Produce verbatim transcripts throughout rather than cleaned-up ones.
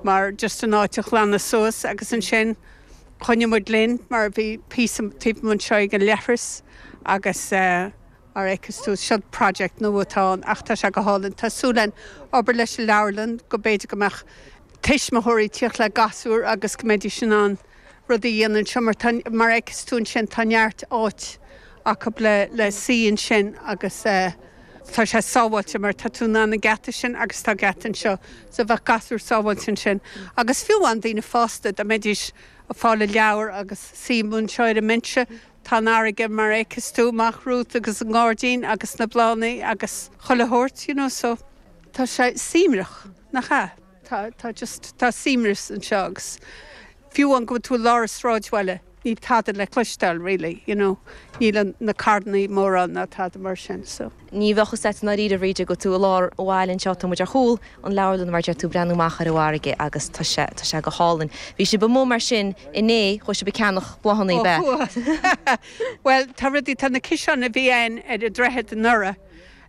Mar just an áit a ghlanadh suas agus ansin choinnigh muid linn mar bhí píosa taobh anseo ag an leithreas agus uh, mar a fheiceann tú seo project nua atá ach tá sé go hálainn Tá súil againn obair leis an leabharlann go b'fhéidir go mbeadh tuismitheoirí ag tíocht le gasúir agus go mbeidís in ann rudaí a dhéanamh seo mar mar a fheiceann tú ansin tá neart áit acu le le suí ansin agus uh, tá sé sábháilte mar tá tú an geata sin agus tá geata anseo so bheadh gasúir sábháilte ansin. Agus fiú an daoine fásta dá mbeidís ag fáil leabhar agus suí anseo ar an mbinse Tá an fharraige mar a fheiceann tú amach romhat agus an gairdín agus na bláthanna agus chuile shórt you know, so tá sé suaimhneach nach ea tá tá just tá suaimhneas anseo agus fiú an go tú lár sráidbhaile níl tada le cloisteáil really, you know, níl na carranna móra ná tada mar sin so. Ní bheadh set na rí ríide go tú lár bhhail an seo muid ar chúl an leabharlann mar tú breathnú amach ar an bhfarraige agus tá sé tá sé go hálainn. Bhí sibh amuigh mar sin inné chuaigh sibh ag ceannach bláthanna be. Well tá rudaí tá na ciseáin a bhí ann ar an droichead anuraidh.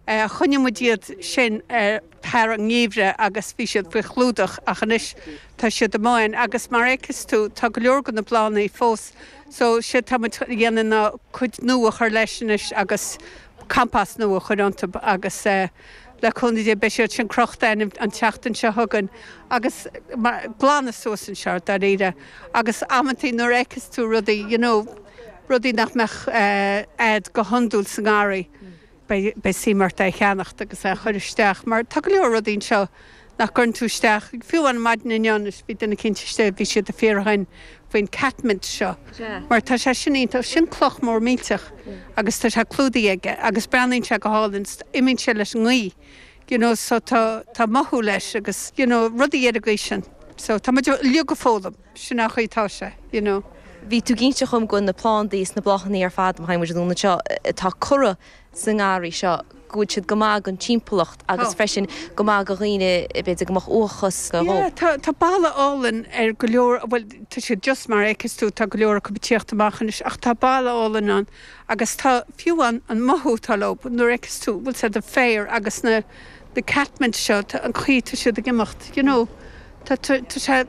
Uh, Choinnigh muid iad sin uh, thar an ngeimhreadh agus bhí siad faoi chlúdach ach anois tá siad amuigh agus mar a fheiceann tú tá go leor de na bláthanna fós so sé tá dhéanamh na cuid nua chur leis anois agus compost nua chur iontu agus uh, le cúnamh Dé beidh siad sin crochta an tseachtain seo chugainn agus glanadh suas anseo dáiríre agus amantaí nuair a fheiceann tú rudaí you know, rudaí nach mbeadh uh, a'd go hiondúil sa ngarraí. Beidh suim ort é a cheannacht agus é chur isteach, mar tá go leor rudaí anseo nach gcuireann tú isteach fiú an maidin inniu bhí duine eicínt istigh bhí siad ag fiafraí faoin catmint seo. Mar tá sé sin iontach sin cloch mór millteach agus tá sé clúdaithe aige agus breathnaíonn sé go hálainn imíonn sé leis an ngaoth. You know, so tá tá mothú leis agus you know, rudaí ar an sin. So tá muid uilig ag foghlaim sin an chaoi atá sé, you know. Bhí tú ag inse dom go na plandaí na bláthanna ar fad muid dúna seo atá curtha sa ngarraí seo go bhfuil siad go maith don timpeallacht agus freisin go maith do dhaoine b'fhéidir go mbeadh uathachas go. Tá tá bail álainn ar go leor bhuel tá sé just mar a fheiceann tú tá go leor acu ag tíocht amach anois ach tá bail álainn ann agus tá fiú an an mothú tá leo nuair a fheiceann tú bhfuil sé de féar agus na na catmint seo an chaoi tá siad ag imeacht you know tá tá sé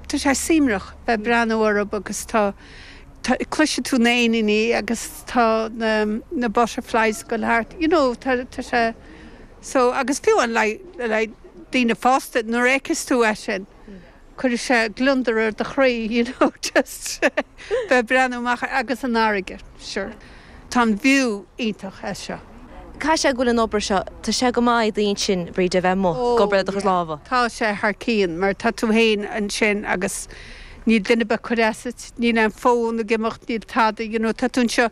tá sé suaimhneach bheith breathnú orthu agus tá cloiseann tú na héiníní agus tá na, na butterflies go thart you know tá tá sé so agus fiú an le le daoine fásta nuair a fheiceann tú é sin cuireann sé gliondar ar do chroí you know just bheith breathnú amach agus an fharraige sure. Tá an view iontach é seo. Cá sé ghfuil an obair seo Tá sé go maith daoine sin bríd a bheith mo gobre do láha. Tá sé thar cionn mar tá tú féin ansin agus níl duine ag cur as, níl an fón ag imeacht níl tada, you know, tá tú anseo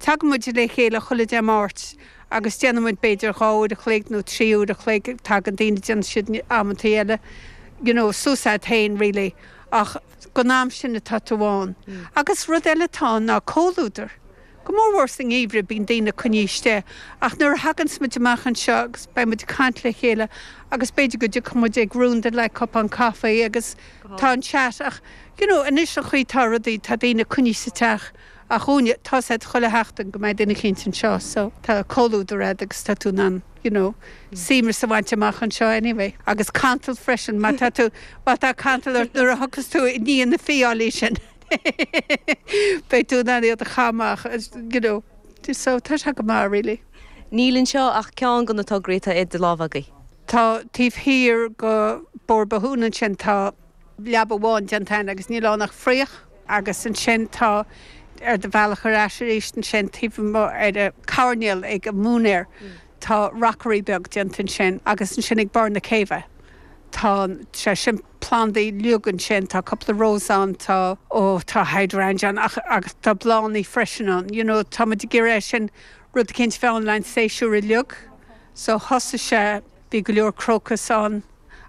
tagann muid le chéile chuile Dé Máirt agus déanaimid b'fhéidir dhá uair a chloig nó trí uair a chloig tagann daoine déanann siad amantaí eile, you know, suas a'd féin really ach don am sin atá tú ann. Mm. Agus rud eile tá ná comhluadar. Go mórmhór sa ngeimhreadh bíonn daoine coinnithe istigh ach nuair a thagann muid amach anseo agus beidh muid caint le chéile agus b'fhéidir go dtiocfaidh muid ag rúnda le cupán caife agus tá an chat ach you know, anois an chaoi tá rudaí tá daoine coinnithe sa teach ach úne tá sé chuile sheachtain go mbeidh duine eicínt anseo so tá comhluadar a'd agus tá tú an you know, suaimhneas a bhaint amach anseo anyway. agus cantal freisin má tá tú má tá cantal nuair a thiocfas tú i ndiaidh na fiailí sin. Beidh tú in ann iad a chamach you know, so tá sé go maith really. Níl anseo ach ceann de na tograí atá idir lámha agaibh. Tá taobh thiar de Bord Bothún ansin tá leaba amháin déanta agus níl ann ach fraoch agus ansin tá ar do bhealach ar ais arís ansin taobh ar a coirnéal ag an móinéar tá rockery beag déanta ansin agus ansin ag barr na céibhe. Tá sé sin plandaí uilig ansin tá cúpla rós ann tá ó tá hydrangea ach agus tá bláthanna freisin ann. You know, tá muid ag iarraidh sin rud eicínt féin le an séasúr uilig, so thosaigh sé bhí go leor crocus ann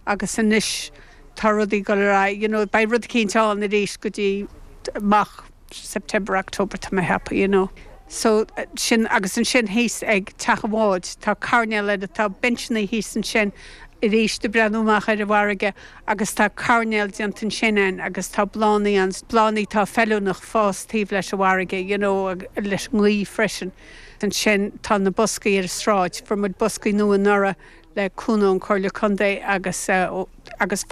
agus anois tá rudaí go ra you know, beidh rud eicínt ann arís go dtí amach September October tá mé ag ceapadh you know. So sin agus ansin thíos ag teach an bháid tá coirnéal eile tá binseanna thíos ansin arís ag breathnú amach ar an bhfarraige agus tá coirnéal déanta ansin ann agus tá bláthanna an bláthanna tá feiliúnach fás taobh leis an bhfarraige you know, leis an ngaoth freisin. Ansin tá na boscaí ar an sráid, fuair muid boscaí nua anuraidh le cúnamh an Chomhairle Contae agus uh, agus